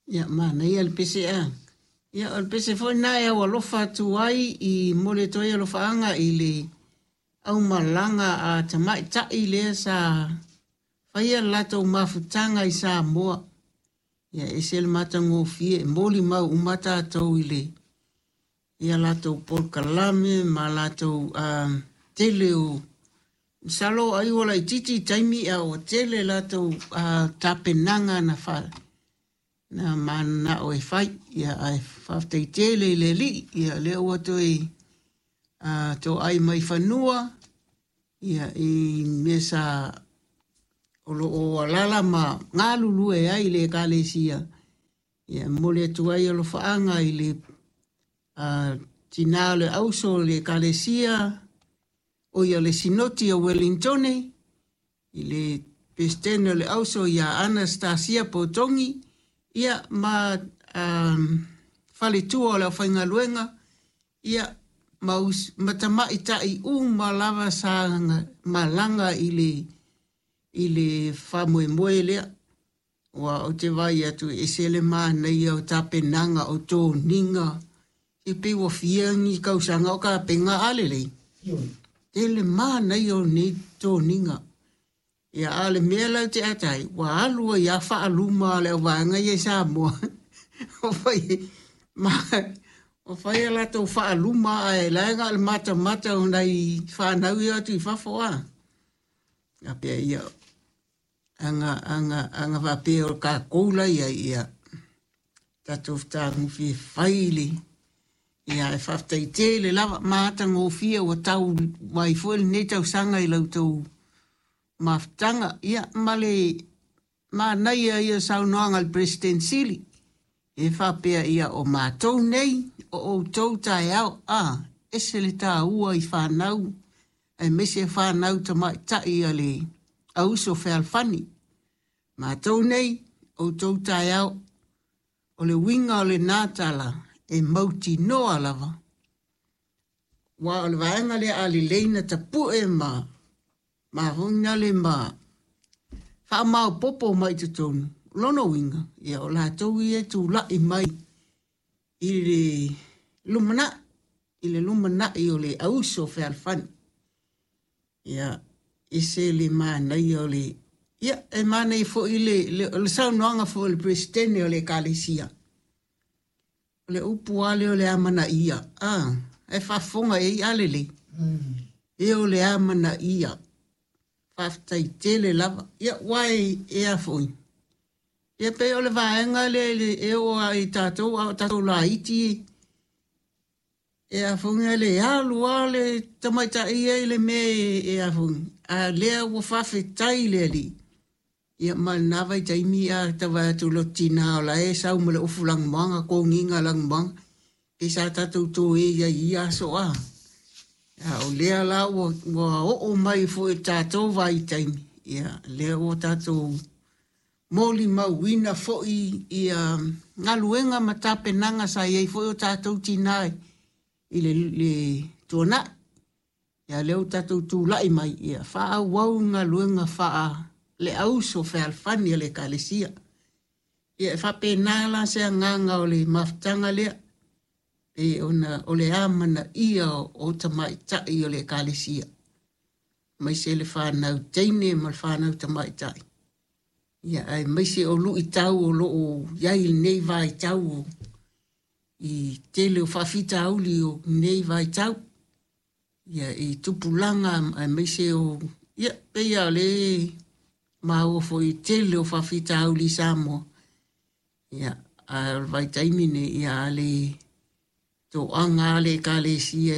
Ia, manaia le pese a. Ia, o le pese foi lena e aualofa atu ai i momoli atu ai alofaaga i le aumalaga a tamaitai lea sa faia le latou mafutaga i Samoa. Ia, e ese le matagofie, e molimau uma tatou i le ia latou polokalame ma latou tele o masalo ai ua laitiiti i taimi a ua tele latou tapenaga na fa na mananao e fai. Ia, ae faafetai tele i le Alii, ia lea ua toe toai mai fanua ia i mea sa o lo o alaala ma galulue ai i le Ekalesia. Ia, e momoli atu ai alofaaga i le tina o le auso o le Ekalesia, o ia le Sinoti o Wellingtone, i le Peresetene o le Auso ia Anastasia Potogi, ia ma faletua o le aufaigaluega, ia ma, ma tamaitai uma lava sa malaga i le faamoemoe lea. Ua ou te vaai atu e ese le manaia o tapenaga o toniga, e pei ua fia ni tausaga o tapena a lelei. Tele manaia o nei toniga. Ia, a o le mea la ou te ata ai, ua alu ai lava faaluma a le auvaega ia i Samoa. Ua fai, ma, ua fai a latou faaluma ae la e na o le matamata o nai fanau ia atu i fafo a. A pea ia, aga, aga, aga faapea o tatou la i ai, ia, tatou fetagofie fai le, ia, e faafetai tele lava, matagofie ua tau mai foi lenei tausaga i la outou mafutaga. Ia, ma le manaia ia saunoaga a le Peresetene Sili, e faapea ia o matou nei, o outou taeao, a, ese le taua i fanau, aemaise fanau tamaitai a le auso fealofani. Matou nei, outou taeao, o le uiga o lena tala e mautinoa lava, aua o le vaega lea a lelei na tapue ma mafoinale ma faamaopoopo mai i totonu, lona uiga, ia o latou ia e tulai mai i le lumanai, i le lumanai o le auso fealofani. Ia, ese le manaia o le, ia, e manaia foi le, le, le saunoaga foi a le Peresetene o le Ekalesia. O le upu lava lea o le amanaia, a, e faafofoga i ai a lelei. E o le amanaia. Faafetai tele lava. Ia, ua e a foi. Ia pei o le vaega lea e oo lava i tatou, a o tatou laiti, e a foi le alu lava le tamaitai ia i le mea e a foi. A lea ua faafetai i le Alii. Ia ma lena vaitaimi a tau vaai atu i lota tina o la e sau ma le ofu lanumoana, toniga lanumoana, pei sa tatou toe i ai i ia aso a. A o lea la ua, ua oo mai foi i le tatou vaitaimi, ia lea ua tatou molimauina foi ia galuega ma tapenaga sa i ai foi o tatou tina i le, le tuanai. Ia lea ua tatou tulai mai, ia faaauau galuega faa le auso fealofani a le Ekalesia. Ia e faapena la se agaga o le mafutaga lea, pei ona o le amanaia o tamaitai o le Ekalesia, aemaise le fanau teine ma le fanau tamaitai. Ia aemaise o luitau o lo o i ai i lenei vaitau i tele o faafitauli o lenei vaitau. Ia i tupulaga aemaise o, ia pei lava o le maua foi i tele o faafitauli i Samoa. Ia, a o le vaitaimi nei, ia a le toaga lava le Ekalesia.